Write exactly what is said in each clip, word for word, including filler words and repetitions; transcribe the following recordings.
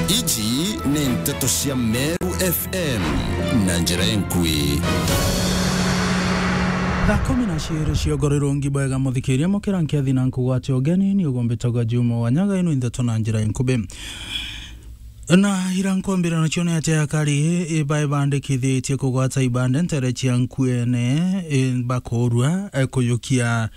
Iji ni nteto cia Meru F M na njira enkui. Thaa kumi na ciiri cia ugoro irungi bwega muthikiria, mukira nkiathi na nkugwate ugeni, ni ugumbitagwa Juma Wanyaga, inu nteto na njira enkubi. Na ira nkwambira nacio ni ati akari ibaibandikithitie kugwata ibande ntere cia nkuene, e, bakurua, e, kuyukia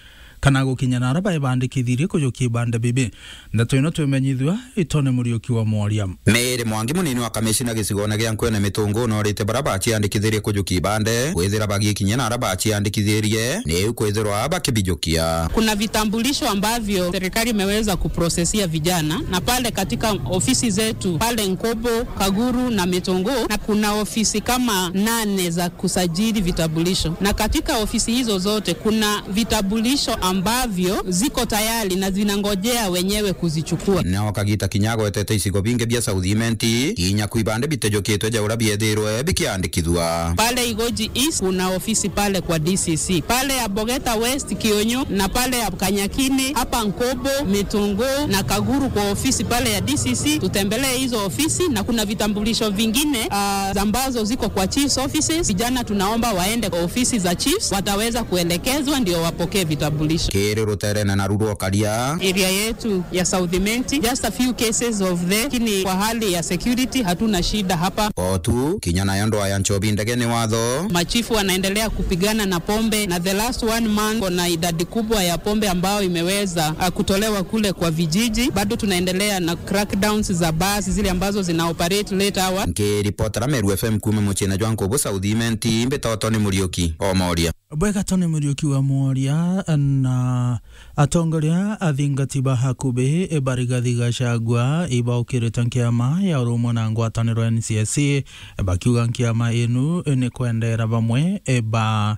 kana gukinya na ara baibandikithirie kuyukia ibande bibi. Ndeto ino twimenyithua itone Muriuki wa Mworia. Mary Mwangi, munini wa kamishina gicigone gia Nkwene Mitungu, norite bara baciandikithirie kujukia ibande kwithira bagikinya na ara baciandikithirie, niu kwithirwa bakibijukia. Kuna vitambulisho ambavyo serikali imeweza kuprosesia vijana, na pale katika ofisi zetu pale Nkobo, Kaguru na Mitungu, na kuna ofisi kama nane za kusajili vitambulisho, na katika ofisi hizo zote kuna vitambulisho ambavyo ziko tayari na zinangojea wenyewe kuzichukua. Nao Kagita kinya agwetete icigo bingi bia South Imenti, kinya ku ibande bitejukitwe ja uria biethirwe bikiandikithua. Pale Igoji East kuna ofisi pale kwa D C C. Pale ya Bogeta West, Kionyo, na pale ya Kanyakini, hapa Nkobo, Mitungu na Kaguru kwa ofisi pale ya D C C. Tutembelee hizo ofisi, na kuna vitambulisho vingine, ah, ambazo ziko kwa chief's offices. Vijana tunaomba waende kwa ofisi za chiefs, wataweza kuelekezwa ndio wapokee vitambulisho. Kiri ruterene naru rwa Ukaria. Area yetu ya South Imenti, just a few cases of the, lakini kwa hali ya security hatuna shida hapa. O tu, kinya nayo ndwaa ya nchobi ndege ni watho. Machifu wanaendelea kupigana na pombe, na the last one month kuna idadi kubwa ya pombe ambayo imeweza, ah, kutolewa kule kwa vijiji. Bado tunaendelea na crackdowns za bars zile ambazo zina operate late hour. Nkiripotera Meru F M kuuma muciine jwa Nkubu South Imenti, mbitagwa Tony Muriuki o Mworia. Bwega Tony Muriuki wa Mworia. Na atongoria athingati ba hakubi ba Rigathi Gachagua ibaukirite nkiama ya urumwe na ngwataniro N C I C, bakiuga nkiama inu ni kwendera bamwe ba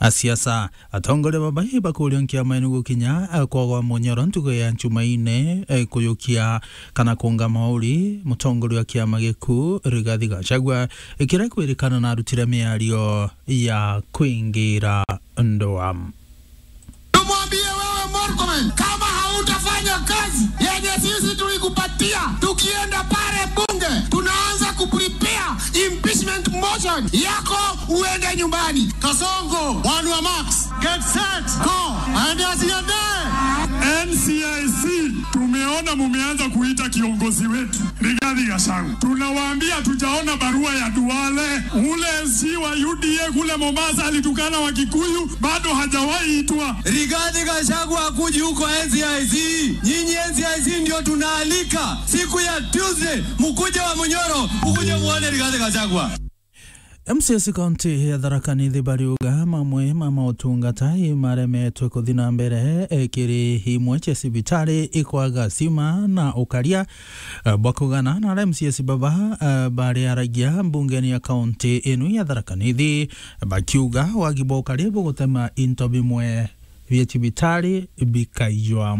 asiasa. Atongoria baba ibakuria nkiama inu gukinya kwagwa munyoro ntugo ya Njumaine, kujukia kana kunga mauri mutongoria wa kiama giku Rigathi Gachagua, kiria kwirikana na arutire miario ya kwingira ndoa. Tumwambie wewe Murkomen, kama hautafanya kazi yenye sisi tulikupatia, tukienda pale bunge, tunaanza kuprepare impeachment motion yako uende nyumbani. Kasongo, one wa Max. Get set. Go. And as your day. N C I C, tumeona mumeanza kuita kiongozi wetu Rigathi Gachagua. Tunawaambia tujaona barua ya Duale. Ule M C wa U D A kule Mombasa alitukana Wakikuyu, bado hajawahi itwa. Rigathi Gachagua hakuji huko N C I C. Nyinyi N C I C ndio tunaalika siku ya Tuesday, mukuje wa Munyoro, mukuje muone Rigathi Gachagua. M C S kaunti ya Tharaka Nithi bariuga mamwe ma mautungata imaremetwe kuthi na mbere, e, kiri imwe cia cibitari ikwaga stima na ukaria, e, bwa kugana na aria M C S baba, e, bariaragia mbungeni ya kaunti inu ya Tharaka Nithi, bakiuga wagi bwa ukaria bugutema into bimwe bia cibitari bikaijwa.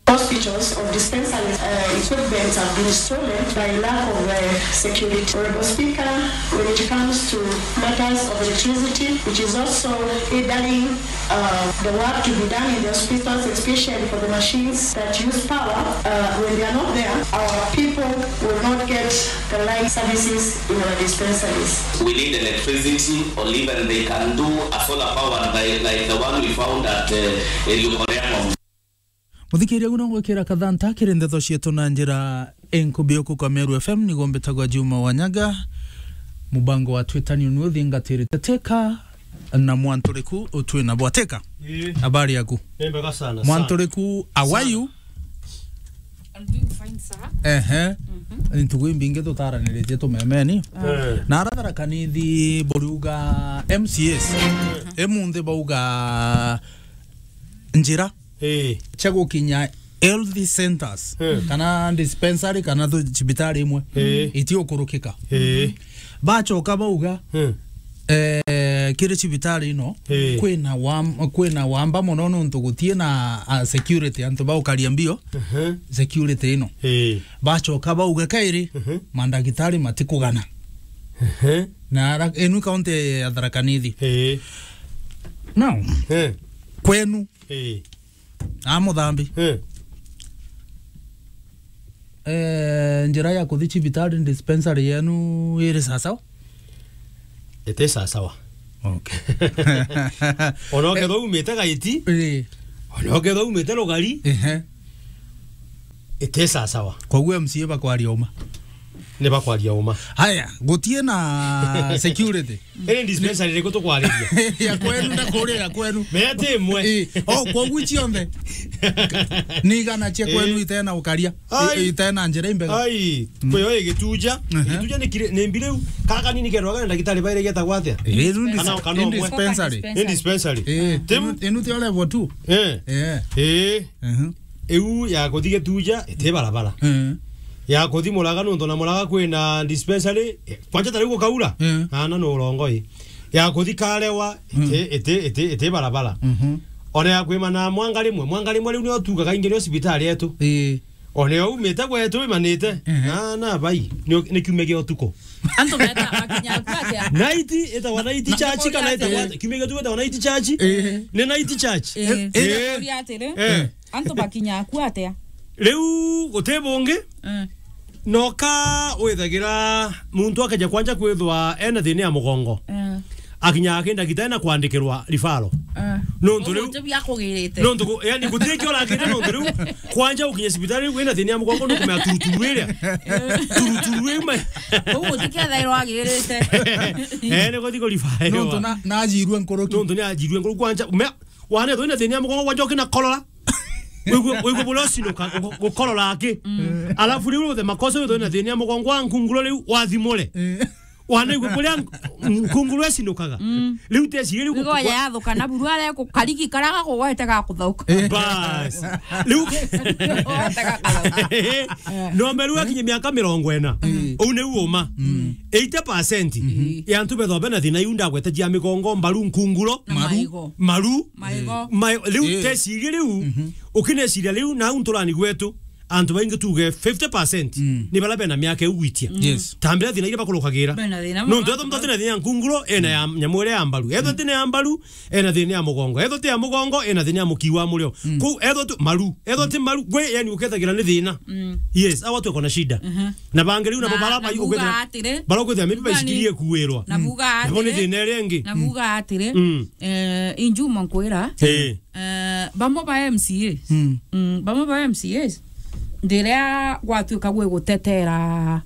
Hospitals or dispensaries, uh, equipments have been stolen by lack of, uh, security. Honorable Speaker, when it comes to matters of electricity, which is also hindering, uh, the work to be done in the hospitals, especially for the machines that use power, uh, when they are not there, our people will not get the right services in our dispensaries. We need electricity, or even they can do a solar power like, like the one we found at, uh, Elgeyo Marakwet. Muthikiria, uno ngwikira kathanta kiri ndeto cietu na njira enkubi uku kwa Meru F M, niguo mbitagwa Juma Wanyaga. Mubango wa Twitter ni unu uthingatirite Teka na Mwanturiku utwi na bwa Teka. Ii. Habari yaku? Ni mbega sana, sana. Mwanturiku, how are you? I'm doing fine, sir. Ehe. Mhm. Ni ntugu imbingi tutaraniritie tumemeni. Eh. Na ara Tharaka Nithi buriuga M C As. Mhm. Emunthi bauga njira, eh, cia gukinya health centers, eh, kana dispensary, kana thu-, cibitari imwe, eh, itiukurukika. Eh. Bacoka bauga, eh, eh, kiri cibitari ino, eh, kwina wam-, kwina wamba mono nontu gutie na, ah, security, antu baukaria mbio, ehe, security ino. Eh. Bacoka bauga kairi, ehe, mandagitari matikugana. Ehe. Na ara-, inu kaunti ya Tharaka Nithi. Eh. Now, eh, kwenu, eh, a Muthambi, eh, Eh, njira ya kuthi cibitari, dispensary yenu iri sasawa? Iti sasawa. Okay. Ona ukethwa umite Gaiti, eh, ona ukethwa umite Rugari, ehe, iti sasawa. Koguo M C A bakwaria uma. Ni bakwaria uma. Haya, gutie na security. Iri dispensary iriku tukwariria? Ya kwenu na kuria ya kwenu. Mea ti imwe. Eh, oh, koguo cionthe. Ni igana cia kwenu, eh, itena ukaria. Ai. I-, itena njira imbega. Ai, mm, kwi yo igituja. Aha. Igituja ni kire-, ni mbi riu. Kara kanini kerwaga na ndagitari baire getagwa atia? Eh, inu dis-, kana, kana inu umwe. Dispensary. Ni dispensary. Eh, tim- inu, inu tio level two. Eh. Eh. Eh. Mhm. Iu ya kuthi Gituja, iti barabara. Mhm. Ya kuthi Muraga, nontu na Muraga kwina dispensary, eh, kwanja ta riu gukaura. Mhm. Ana no urongoi. Ya kuthi Karewa, iti, mhm, iti, iti, iti barabara. Mhm. Ona ya kwimana Mwanga rimwe, Mwanga rimwe riu nio tugaga ingi nio cibitari yetu. Ii. Ona yo umite gwetu imanite. Mhm. Na, na bai, ni, ni kiumia gia utuku. Antu meta makinya aku atia? Night, itawa night church kana itawa, kiumia gia utuku itawa night church? Ii. Ni night church. Ii. Ii. Ii. Kuria atiri. Eh. Antu bakinya aku atia? Riu guti bungi. Mm. Noka withagira muntu akeja kwanja kwithwa ena thina ya mugongo. Mm. Akinya aki ndagitari na kwandikirwa rifaro. Mm. Nontu riu, ugutu bia kugirite. Nontu ku-, yani, guti kio rakire nontu riu kwanja ukinye cibitari riu wina thina ya mugongo nukumea turuturu iria. Turuturu iu mai. Ugutu kethairwa agirite. Eh, ni guthi kurifaro. Nontu na, najirue nkuruki. Nontu ni ajirue nkuruki kwanja. Mea, wana thina ya mugongo kwanja ukina korora. Wigwe, wigwe buria ucinuka, gu-, gukorora aki. Mm. Alafu riu uthe makosa withwe na thina ya mugongo wa nkunguro riu wathimure. Mm. Wana igwe buria nk-, nkunguro ecinukaga. Mm. Riu tecirie riu. Wigo gukwa- yathuka na buru aria ku-, karigi karia gakugwete gakuthauka. Eh. Bas. Riu gagutega kathauka. No meru akinye miaka mirongo ina. Mm. Uu niu uma. Mm. Eighty percent, mhm, ya antu bethombe na thina iu ndagwete jia migongo, mbaru, nkunguro, na maru, maigo. Maru. Maigo. Ma-, riu, eh, tecirie riu, mhm, ukineciria riu, na au nturani gwetu, antu baingi tuge fifty percent, mm, ni bara bena miaka iu gwitia. Mm. Yes. Tambira thina iria bakurukagira. Bena thina. Nontu muno. Eto muntu atina thina ya nkunguro, ena ya nyamu iria ya mbaru. Eto, mm, tina ya mbaru, ena thina ya mugongo. Eto ti ya mugongo, ena thina ya mukii wa murio. Mm. Kou eto tu maru. Eto ti maru, gwe, yani, ukethagira ni thina. Mm. Yes, awa tu kona shida. Mhm. Na bangi riu nabo bara bai ukethira, bara ukethira maybe baicikirie kuirwa. Na buga atiri. Nabo ni thina iria ingi. Na buga atiri. Mm. Eh, injuma nkwira. Eh. Eh, bamwe ba M C As. Mm. Mm, bamwe ba M C As. Ndiria gwatuika gwi gutetera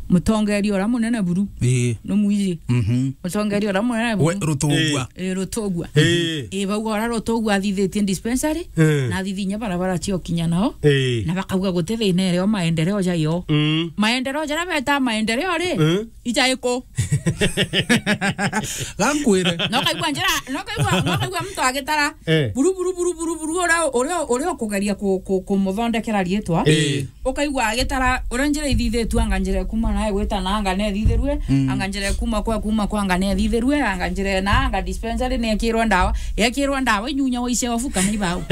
mutongeria uria munene buru. Ii. Numwiji. Mhm. Mutongeria uria munene buru. We, Rutugwa. Ii. Ii, Rutugwa. Ii. Ii, bauga uria Rutugwa athithitie dispensary, ii, na athithinya barabara cia ukinya nao. Ii. Na bakauga guti thina irio maendeleo jayo. Mm. Maendeleo jaria beta maendeleo ri, ii, ija iku? Gankwire. No kaigua njira, no kaigua, no kaigua muntu agitara. Eh. Buru, buru, buru, buru, buru, uria, uria, uria ukugeria ku-, ku-, kumuthondekera riitwa. Eh. Ukaigua agitara, uria njira ithithitue, anga njira ikuma nae gwita na anga nethithirue, mm, anga njira ikuma kwa, kuma kwa anga nethithirue, anga njira na anga dispensary nekirwa ndawa, yekirwa ndawa inyunya wa iceofu kana ibau.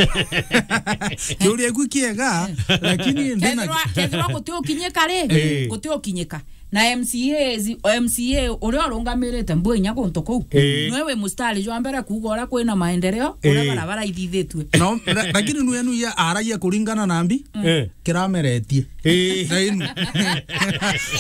Kiuria iku kiega, lakini ndina kethirwa, kethirwa guti ukinyika ri, eh, guti ukinyika. Na M C As, M C A uria urungamirite mbu inya guntu kuu. Eh. Niwe wi mustari jwa mbere kuuga uria kwina maendeleo, uria, eh, barabara ithithitue. No, la-, lakini nwe nu ya aragia kuringana na mbi, mm, eh, kirameretie. Eh. Na inu.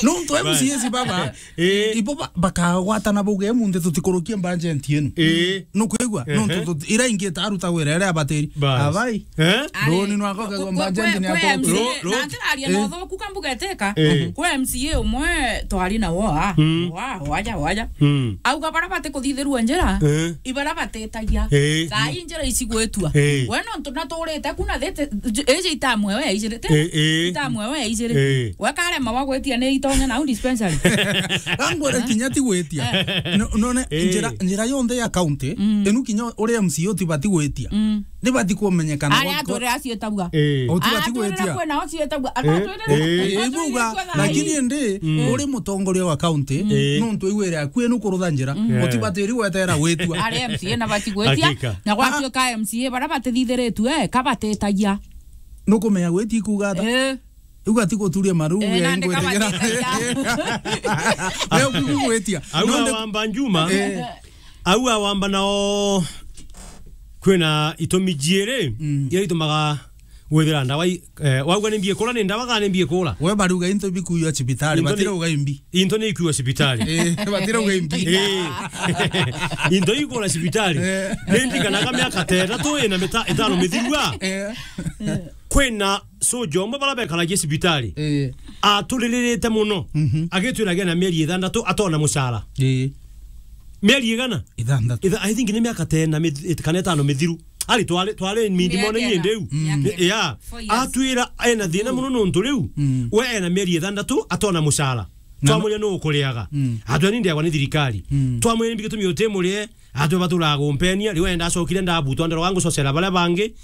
Nontu M C As baba, eh, ibo ba-, bakagwatana bauge, "Emunthi tutikurukie budget inu." Eh. Nukwigua? Ehe. Nontu tuti-, ira ingi itaruta wira iria abatiri. Bas. Abai. Eh? Ari, roni nwako kagwa kwe, kwe, mbajenti ni kwe akuru. M C A, ro-, ro-, na ntiraria, eh, na uthuku kambuga eteka. Eh. Kwe M C A umwe twari na woa. Mm. Woa, waja, waja. Mm. Auga bara batikuthithirua njira, eh, ibara batetagia. Eh. Thaa ii njira icigwitwa. Eh. We nontu naturite kuna thete, iji itamwe we ijirite. Eh, eh. Itamwe we ijiri. Eh. We karema wa gwitia ni itonya nau dispensary. Gangwire, eh, kinya ti gwitia. Eh. No, none, eh, njira, njira yonthe ya county, mm, inu kinya uri M C A utibati gwitia. Mm. Nibati kumenyekana. Aria atwirira acietagua. Eh. Utibati gwitia. Atwirira kwina acietagua. Eh. Atwirira. Eh, ibuga, lakini indi, mm, uri mutongoria wa county, mm, eh, nontu iwire aku inu kurutha njira. Mm. Eh. Utibatiri gwetera gwitua. Ari M C A na bati gwitia. Hakika. Na gwatuika M C A bara batithithiritue, eh, kabatetagia. Nukumenya gwitia ikuga ata? Eh. Uga ti guturia maru, eh, ya nandi ingwitigira. Kabatetagia. Leo kugwitia. Au nonde- awamba Njuma. Eh. Au awamba nao kwina itumi jiiri, mm, iria itumaga Withira ndawa i-, eh, wauga ni mbi ikura, ni ndawa kana ni mbi ikura? We baruga into bikuywa cibitari, into ni, batira uga imbi. Into ni ikuywa cibitari. Eh, batira uga imbi. Eh. Into ikura cibitari. Eh. Ni ndirikanaga miaka ta itatu ina mita-, itano mithirua. Eh. Kwina soja umwe bara bekaragia cibitari. Eh. Aturiririte muno. Mhm. Agitwiragia na mieri ithandatu atona mucara. Eh. Mieri igana? Ithandatu. Itha-, I think ni miaka ta ina mithi-, it-, kana itano mithiru. Ari twari, twari mindi mone nyende u. Miaka ina. Yeah. Four years. Atwira ena thina muno nontu riu. Mm. We ena mieri ithandatu atona mucara. Na twamwira no ukuriaga. Mm. Atwira ni ndiagwa ni thirikari. Mm. Twamwira ni mbi gitumi utimurie. Atwe baturaga gumpenia, riu enda acokire ndabutwa ndero wangu cocera baria bangi.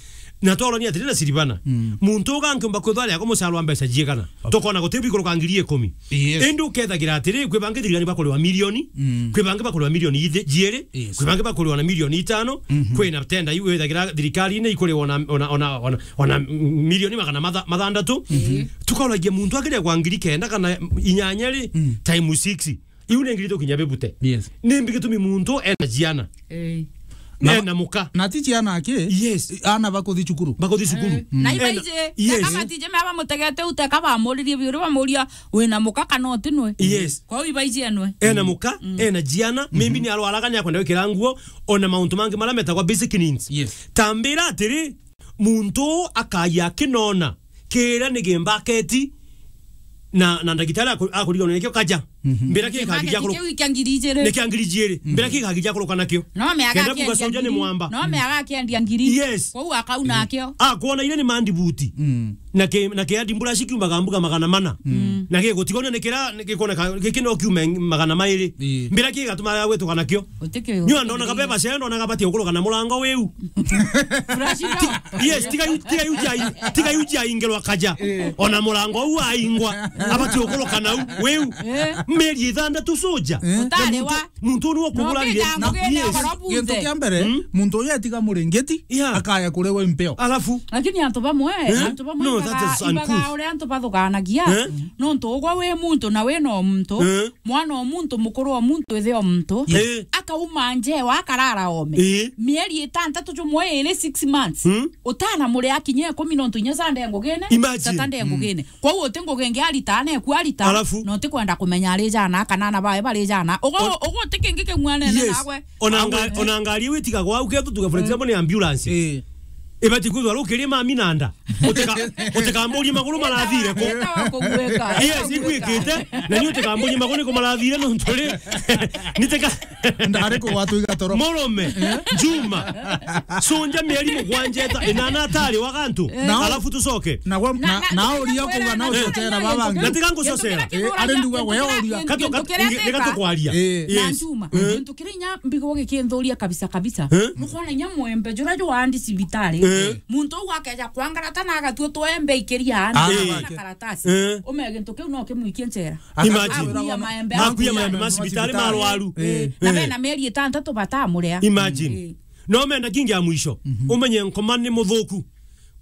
Na tworania atiri na Silvana. Mm. Muntu uga nkiumba kwithwa ari ako mucara wa mbeca jiigana. Tukona guti bikuruka ngiri ikumi. Yes. Indi ukethagira atiri, kwi bangi thirikari bakuriwa milioni, mm, kwi bangi bakuriwa milioni ithi-, jiiri, yes, kwi bangi bakuriwa na milioni itano, mhm, kwina tenda iu withagira thirikari-ini ikuriwa ona, ona, ona, ona, ona milioni magana matha-, mathandatu. Mhm. Tukauragia muntu akiria kwa ngiri kenda kana inyanya ri, mm, times six. Iu ni ngiri tukinya bibute. Yes. Ni mbi gitumi muntu ena ciana. Eh. Na ena muka. Na ti ciana aki? Yes. Ana bakuthi cukuru. Bakuthi cukuru. Eh. Mm. Na iba ena, ije, yes, teka batije mea bamutegete u, teka bamuririe biuri bamuria, "Wina muka kana utinwe?" Yes. Kwou iba ije enwe. Ena muka, mm, ena ciana, mhm, maybe ni arwaraga, ni akwenda gwikira nguo, ona mauntu mangi maria metagwa basic needs. Yes. Tambira atiri, muntu akagia akinona kiria ni gimbaketi na, na ndagitari aku-, akuriganwa nikio kaja. Mhm. Mbira kigagi gia kuru-, kiu kia ngiri ijiri. Ni kia ngiri ijiri. Mhm. Mbira kigagi gia kuruka nakio. No me aga kenda kuga akiendia soja ni ngiri. Mwamba. No me aga akiendia ngiri. Yes. Kwou akauna akio. Akwona iria ni mandibuti. Mm. Na ki, na kiandi mbura cikiumaga mbuga magana mana. Mm. Na gigutigwo ni kira gikoneka giki no kiume magana mairi. Ii. Mbira kigatuma gwituka nakio. Utikio. Nyo ndona kabeba cia ndona gabatie gukuruka na murango wiu. Yes, tiga yu, tiga yu jai, tiga yu jai ingirwa kaja. Eh. Ona murango u aingwa, abati gukuruka nau, wiu. Eh. Mieri ithandatu soja. Eh. Utari wa. Muntu ni wo kugura ri. No, yes. Gintu kia mbere, mm, muntu uyu etiga muringiti, yeah, akaya kuriwa impeo. Alafu? Lakini antu bamwe, eh? Antu bamwe no, ibaga, that is uncouth. Ibaga uria antu bathuganagia, eh? Nontu ugwa wi muntu na wi no muntu, eh? Mwana o muntu, mukuru o muntu, ithe o muntu, eh, akauma njewa, akarara ome. Eh. Mieri itantatu, jumwe iri, six months. Mm. Utana muri akinya ikumi nontu inya Sunday ngugine, imagine. Saturday ngugine. Kwou uti ngugi ingi arita, na eku arita, alafu? Na uti kwenda kumenya ari jana, kana ana bae bari jana. Ugo, ugo uti kingi king'uanene, yes, nagwe. Ona nga-, ona ngari iu itigagwa au ketu tuge, for example, ni ambulance. Eh. Ibati kwithwa rukirie mami na nda. Utika-, utikamburie maguru marathire ku. Etawa kugwika. Yes, igwikite, na ni utikamburie maguru ni kumarathire nontu ri. Niteka. Ndari kugwatwa igatoro. Murume, Juma. Sunja mieri mugwanja eta, inana atari wa gantu. Eh. Nao, alafu tucoke. Na gwa, na, na, na, na uria kuga na ucocera babangi. Na tiga ngucocera. Eh, ari nduga we uria. Katu, katu, nika tukwaria. Eh. Na yes. Juma, eh, gintu kiria inya mbigo gikinthuria kabisa kabisa. Eh? Nukwona inya mwembe jura jwandi cibitari. Eh. Muntu uu akeja kwangarata na agatua twembe ikiria ana, ah, na karatasi. Eh. Ume gintu kiu no kimwikie njera. Imagine. Akuia maembe. Akuia maembe ma cibitari marwaru. Eh. Na, eh, bena mieri itantatu batamuria. Imagine. Eh. No menda kingi ya mwisho. Mhm. Umenye nkoma ni muthuku.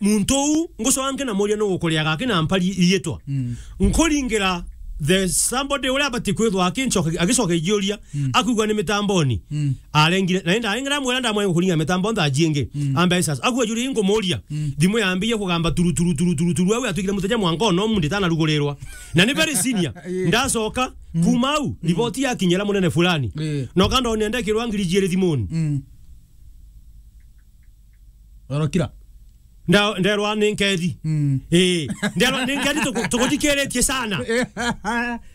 Muntu uu ngucoka nkenamuria nu gukuriaga akina mpari riitwa. Mm. Nkuringira the somebody uria abati kwithwa akincoka, agicoka igiuria, mm, akwigua ni mitamboni. Mm. Arengire, na inda arengire amwira ndamwira kuringa mitambo ntha jingi. Mm. Ambe sasa. Akwigua juri ngumuria. Mm. Thimu yambirie kugamba turu, turu, turu, turu, turu. Au atwikire muteja mwanka no mundi tana rugurirwa. Na ni very senior. Yeah. Ndacoka, mm, kuma au, mm, riboti yakinyira munene fulani. Yeah. No kanda onende kirwa ngiri jiri thimuni. Mm. Orokira. Nda-, nderwa ni nkethi. Mm. Eh, nderwa ni nkethi tuku-, tukuthikiritie sana.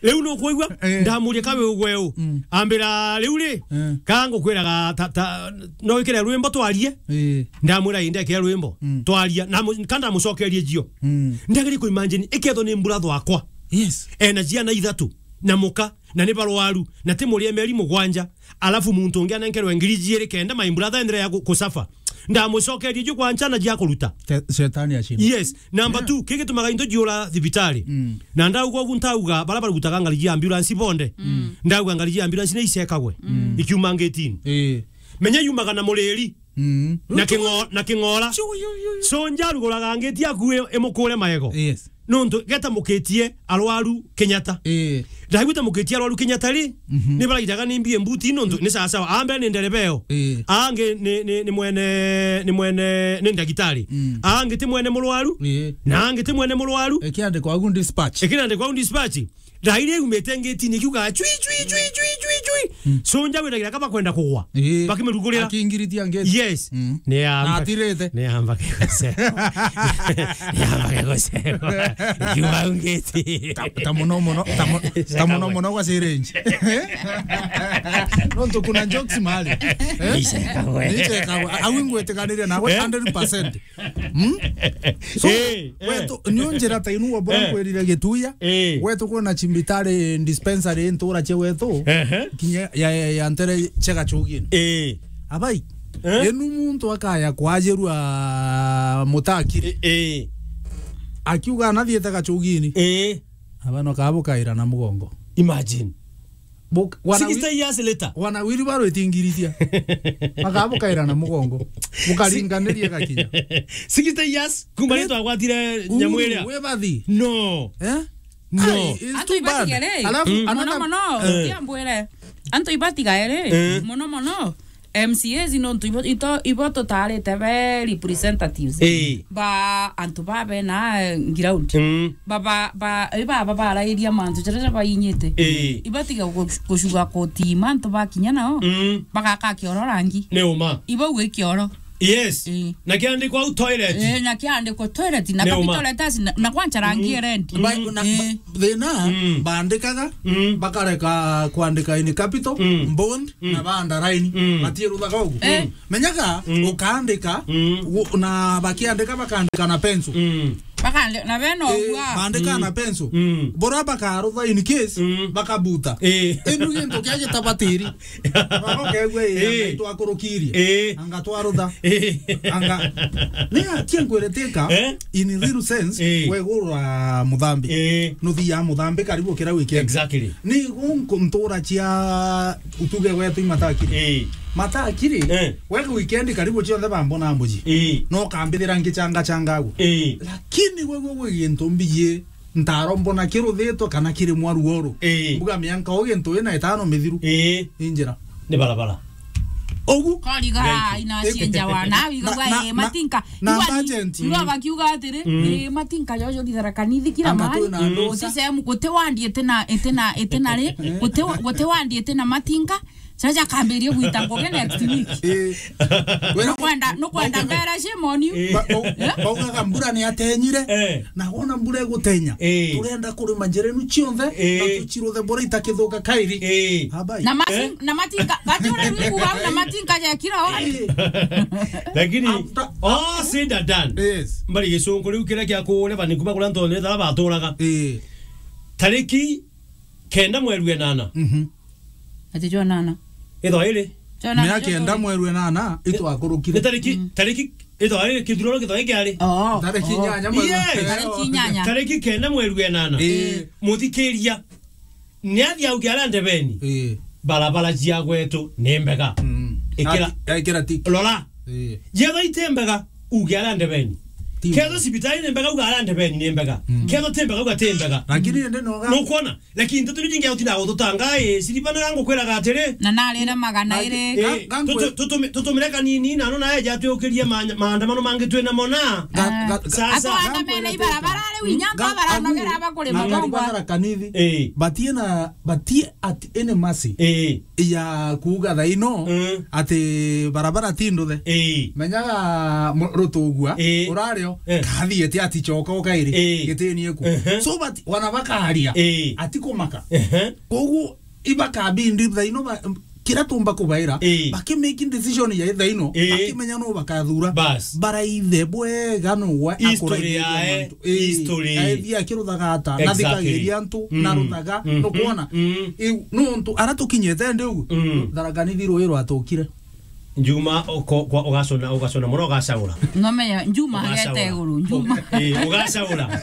Riu nukwigua? Eh. Ndamuria kawe ugweu. Mm. Ambira riu ri, eh, ka ngukwiraga ta, ta, no wikire rwimbo twarie? Eh. Ndamwira ii, ndekire rwimbo. Mm. Twaria. Na mu-, ka ndamucokerie jio. Mm. Ndageri ku imagine, ikethwa ni mbura thwakwa. Yes. Ena ciana ithatu, na muka, na ni barwaru, na ti murie mieri mugwanja, alafu muntu ungi anenkerwe ngiri jiiri kenda, my brother endelea ku-, kusafa. Ndamucokerie ju kwa nchana jia kuruta. Te-, shetani ashinde. Yes, number two, kigitumaga into jiura thibitari. Mm. Na ndauga ugu ntauga, bara barutaga ngari jia ambulance bonde. Mm. Ndauga ngari jia ambulance ni icekagwe. Mm. Ikiuma ngetini. Eh. Menya yumaga na muriri. Mm. Na kingo-, na king'ora. Chu, yu, yu, yu. So njaruguraga ngeti yaku i-, imukure maego. Yes. nontu geta mukitie arwaru Kenyatta. Ii. Ndaigwite mukitie arwaru Kenyatta ri, mhm, ni barairaga ni mbie mbuti nontu ni sawa sawa. Ambe ni nderebeo. Ii. Angi ni, ni, ni mwene, ni mwene, ni ndagitari. Mm. Angi ti mwene murwaru. Ii. Na angi ti mwene murwaru. Ikiandikwa agu dispatch. Ikiandikwa agu dispatch. Ndaire yumite ngitini ikiuga chui, chui, chui, chui, chui, chui. Mm. Sunja wiragira kaba kwenda kugwa. Ii. Bakimirugurira. Akingiritia ngeti. Yes. Mm. Ni amba. Na atirite. Ni amba kigoseko. Ni amba kigoseko. Kiuga ngiti. Ta, ta muno muno, ta mu-, ta muno muno gwa syringe. Nontu kuna jokes mali. Eh? Icekagwe. Icekagwe. Au ingwitiganiria nawe, eh, hundred percent. Hmm? So, eh, eh, wetu, nio njira ta inu wabura, eh, nkwirire Gituya. Eh. Wetu kuna cimbitari dispensary ntura cia wetu. Ehe. Kinya ya, ya, ya ntere cia Gachugini. Eh. Abai. Eh? Enu muntu akaya kwajirua Mutakiri. Eh, eh. Akiuga anathiete Gachugini. Eh. Abano kabukaira na mugongo. Imagine. Buk-, wana wi-, sixty years later. Wana wiri baro itingiritia. Makabukaira na mugongo. Bukaringaniria gakinya. Sixty years, kuma ni twagwatire nyamu iria. Uhuru, we bathi. No. Eh? No. Ai, it's too bad. Antu ibatigere. Alafu, mm, another, muno muno, eh, tiambwire. Antu ibatigaere, eh, muno muno. M C As nontu ibo, ito, ibo tutarite be representatives. Eh. Ba antu ba bena, eh, ground. Mm. Ba, ba, ba, iba, ba, barairia mantu jaria bainyite. Eh. Ibatiga gu-, gucuga koti mantu bakinya nao. Mm. Bagaka kioro rangi. Ni uma. Ibo gwi kioro. Yes. Eh. Na kiandikwa au toilet. Eh, na kiandikwa toilet, na ni uma. Capital letters, na, na kwancha rangi, mm, red. Ba-, na, eh, ba-, thina, mm, bandikaga, mm, bakareka kwandika in capital, mm, bold, mm, na ba underline. Mm. Batiruthaga ugu. Eh. Menyaga, mm, ukaandika, mm, u-, na bakiandika, bakaandika na pencil. Mm. Bakande-, na beno, eh, ugua. Bandika, mm, na pencil. Mm. Bora bakarutha in case, mm, bakabuta. Eh. Inu gintu kia gitabatiri. Baba kegwe, eh, eh, anga itwakurukirie. Eh. Anga twarutha. Eh. Anga. Ni atia nkwiriteka, eh, in real sense, eh, wegurwa muthambi. Eh. Nuthi ya muthambi karibu kira weekend. Exactly. Ni gunku ntura cia utuge gwetu imatakiri. Eh. Matakiri, eh, wega weekend karibu cionthe bambona mbuji. Eh. No kambithira ngichanga changa agu. Eh. Lakini wewe gwi gintu mbiye ntaro mbona kiruthitwe kana kiri mwaru oru. Ii. Mbuga mianka o gintu ina itano mithiru. Ii. Injira. Ni barabara. Ugu. Koriga. Thank you. Ina cienja wana, na, wigagwa, na, ii, na, matinka. Na igwa ni, agent. Igwa bakiuga atiri, mm, ii, matinka jojo thithara kanithi kira. Anga mari. Twina andu. Mm. Uti sehemu, guti wandi itina, itina, itina ri, guti wa-, guti wandi itina matinka. Sasa kambirie gwita ngugi next week. Eh. Nukwenda, nukwenda ngera shame on you. Eh. Ba-, bau-, eh? Baugaga mbura ni atenyire, eh, na wona mbura igutenya. Eh. Turenda kurima njira inu cionthe, eh, na tuchiruthe mbura itakithuka kairi. Eh. Abai. Na mati-, eh? Na matinka, bati ure rwiku wau na matinka jekira wari. Eh. Lakini, after, all said and done. Yes. Mbari gicunku riu kiria kia kuure bani kuma kuria ntonye tara baturaga. Eh. Tariki kenda mweri wa enana. Mhm. Ati jwa nana. Ithwa iri. Jwa nana, miaka jwa kenda tori. Mweri wa enana, itwakurukire. Ni tariki, mm, tariki, ithwa iri, kithurano kithwa iki ari. Oh, tariki, oh, inyanya mweri wa, yes, tariki inyanya. Tariki kenda mweri wa enana. Ii. Muthikiria. Ni athi auge aria ndebeni. Ii. Barabara cia gwetu ni mbega. Mm. Ikira. Ati, ikira tiki. Rora. Ii. Yethwa iti mbega, uge aria ndebeni. Ti mbega. Ketho cibitari ni mbega, uga aria ndebeni ni mbega. Mm. Ketho ti mbega, uga ti mbega. Lakini ende noga. Nukwona? Lakini nteto iria ingi utinda gututanga, ii, siribanaga ngukwiraga atiri. Na narire magana iri. Ii, ga-, ga-, tutu-, tutumi-, tutumire kanini, na no naeja twiukirie ma-, maandamano mangi twina mona. Ga-, ga-, sasa. Atwandamene ibarabara riu inya, ga-, baranogera bakuri magongwa. Kanithi. Ii. Batie na, batie at any mercy. Ii. Ya kuuga thaino, mm, ati barabara ti nduthe. Ii. Menyaga mu-, rutugua, ii, urario, eh, kathiete ati choka ukairi, ii, gitini eku. Ehe. So but wana bakaria, ii, ati kumaka. Ehe. Koguo ibakabindi thaino ba-, kira tumba kubaira, ii, baki making decision ya thaino, ii, bakimenya no bakathura. Bas. Baraithe bwega no gwa history akuraithia yae, mantu. Ii, history. Aithia akiruthaga ata, na, exactly, thikagiria antu, mm, na ruthaga, mm, nukwona? Mm. Iu, nontu ara tukinyite ndi ugu, mm, Tharaka Nithi rui rwatukire. Njuma uko-, kwa-, ugacona, ugacona muno, ugacagura. Ng'ome ya Njuma. Ugacagura. Agete iguru, Njuma. Ii, ugacagura.